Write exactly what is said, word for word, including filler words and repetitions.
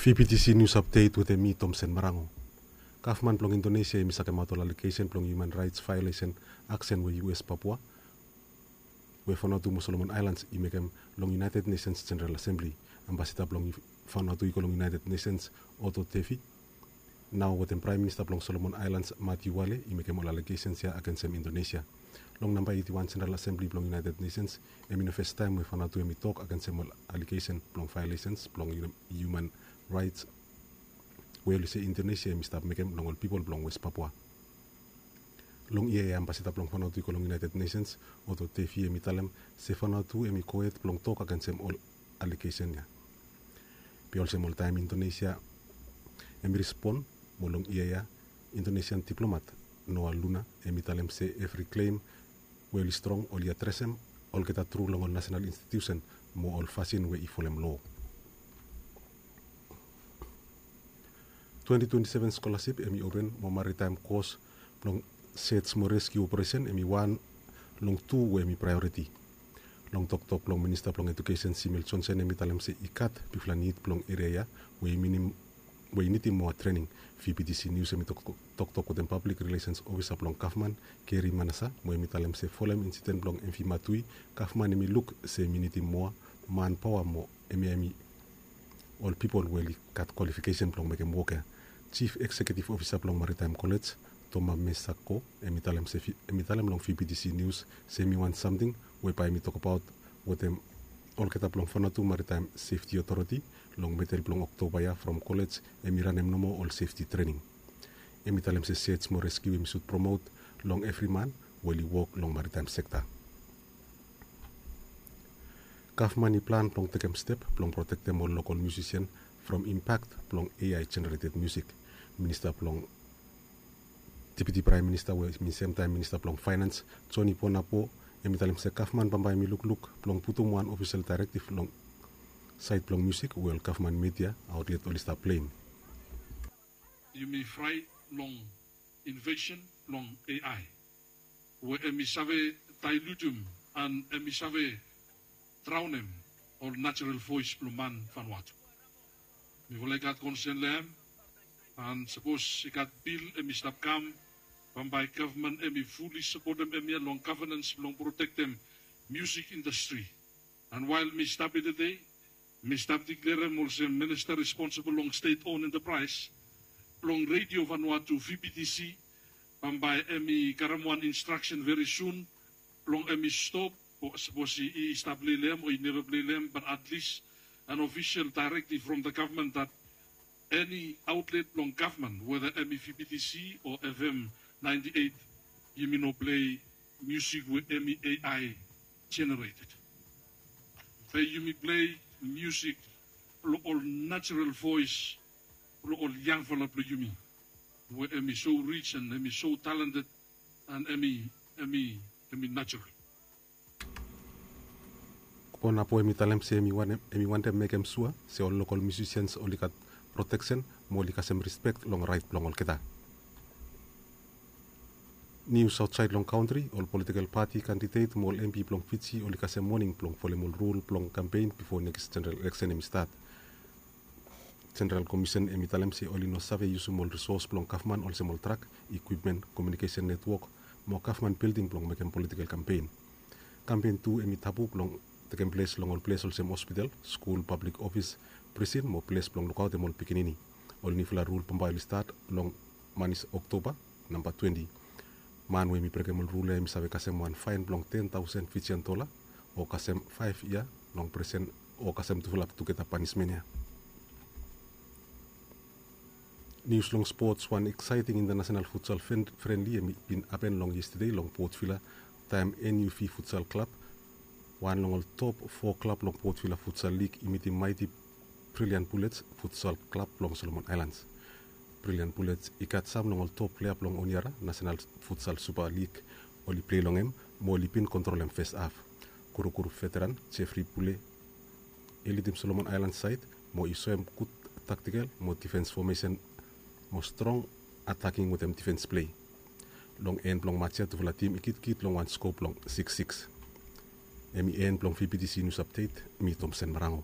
V B T C News Update wetem mi, Tomsen Marango. Gavman blong Indonesia hemi sakemaot ol alegesen blong hiuman raets vaolesen aksen we U S Papua we Vanuatu mo Solomon Aelans i mekem long United Nations General Assembly. Ambasada blong Vanuatu i go long United Nations, Otto Tefi, nao wetem Praem Minista blong Solomon Aelans, Matthew Wale, i mekem ol alegesen ya agensem Indonesia. Long namba eiti wan General Assembly blong United Nations, hemi no fastaem we Vanuatu hemi tok agensem ol alegesen blong vaolesens blong hiuman raets we oli se Indonesia hemi stap mekem long ol pipol blong West Papua. Long yia ya, ambasada blong Vanuatu i go long United Nations, Otto Tefi, hemi talem se Vanuatu hemi gohed blong tok agensem ol alegesen ya. Be olsem oltaem, Indonesia hemi respon, mo long yia ya, Indonesian diplomat Noah Luna hemi talem se evri klem we oli strong oli adresem olgeta tru long ol nasenal institiusen mo ol fasin we i folem loa. Twenti twenti seven skolasip hemi open mo maritaem kos blong search mo reskiu operesen hemi wan long tu we hemi praeoriti. Long toktok blong Minista blong Ejukesen, Simil Johnson, hemi talem se i gat bigfala nid blong eria ya we i minim we i nidim moa trening. V B T C News hemi toktok wetem pablik rilesens ofisa blong gavman, Gary Manasa, mo hemi talem se folem insiden blong M V Matui, gavman hemi luk se hemi nidim moa manpaoa mo hemi hemi ol pipol we oli gat kwalifikesen blong mekem wok ya. Jif Ekseketif Ofisa blong Maritaem Kolej, Toma Mesako, hemi talem se hemi talem long V B T C News se hemi wan samting we bae hemi tokbaot wetem olgeta blong Vanuatu Maritaem Sefti Otoriti long medel blong Oktoba ya from kolej hemi ranem nomo ol sefti trening. Hemi talem se search mo reskiu hemi sud promot long evri man we oli wok long maritaem sekta. Gavman i plan blong tekem step blong protektem ol lokol miusisian from impak blong A I generated miusik. Minista blong Deputi Praem Minista we hemi semtaem Minista blong Faenans, Joni Ponapo, hemi talem se gavman bambae hemi lukluk blong putum wan ofisel daerektiv long saed blong miusik we ol gavman media aotlet oli stap pleim. Yumi fraet long invesen blong A I we hemi save daelutum an hemi save draonem ol najerol voes blong man Vanuatu. Mifala i gat konsen long hem, an sapos i gat bil hemi stap kam, bambae gavman hemi fuli sapotem hem ya long gavenans blong protektem miusik indastri. An wael mi stap ya tede, mi stap diklerem olsem minista responsibol long stet on entapraes blong Redio Vanuatu, V B T C, bambae hemi karem wan instraksen veri sun blong hemi stop, o sapos i stap plei long hem o i neva plei long hem, bat atlis an ofisel daerektiv from the gavman dat eni aotlet blong gavman, weta hemi V B T C o F M ninety eight, yumi no plei miusik we hemi A I generated. Be yumi plei miusik blong ol najerol voes blong ol yangfala blong yumi we hemi so rij an hemi so talented an hemi, hemi, hemi najerol. Ponapo hemi talem se hemi wantem mekem sua se ol lokol miusisians oli gat proteksen mo oli kasem rispek long raet blong olgeta. Nius aotsaed long kantri, ol politikel pati kandidet mo ol M P blong Fiji oli kasem moning blong folem ol rul blong kampen bifo nekis jeneral eleksen hemi stat. Jeneral Komisen hemi talem se oli no save yusum ol risos blong gavman olsem ol trak, ikwipmen, komiunikesen netwok mo gavman bilding blong mekem politikel kampen. Kampen tu hemi tabu blong tekem ples long ol ples olsem hospital, skul, pablik ofis, prisin mo ples blong lukaotem ol pikinini. Ol niufala rul bambae oli stat long manis Oktoba namba twenti. Man we hemi brekem ol rul ya hemi save kasem wan faen blong ten taosen Fijian dola o kasem faef yia long prisen o kasem tufala tugeta panismen ya. Nius long spots, wan eksaeting intanasenal futsal frenli hemi bin hapen long yestede long Port Vila, taem N U V Futsal Klab, wan long ol top fo klab long Port Vila Futsal Lig, i mitim Mighty Brilliant Bullets Futsal Klab blong Solomon Aelans. Brilliant Bullets i gat sam long ol top plea blong Honiara Nasenal Futsal Supa Lig oli plei long hem mo oli bin kontrolem fes haf. Kurukuru veteran Jeffrey Pule i lidim Solomon Aelans saed mo i soem gud taktikel mo difens fomesen mo strong ataking wetem difens plei. Long en blong mats ya tufala tim i kitkit long wan sko blong siks siks. Hemi en blong V B T C Nius Apdet, mi Tomsen Marango.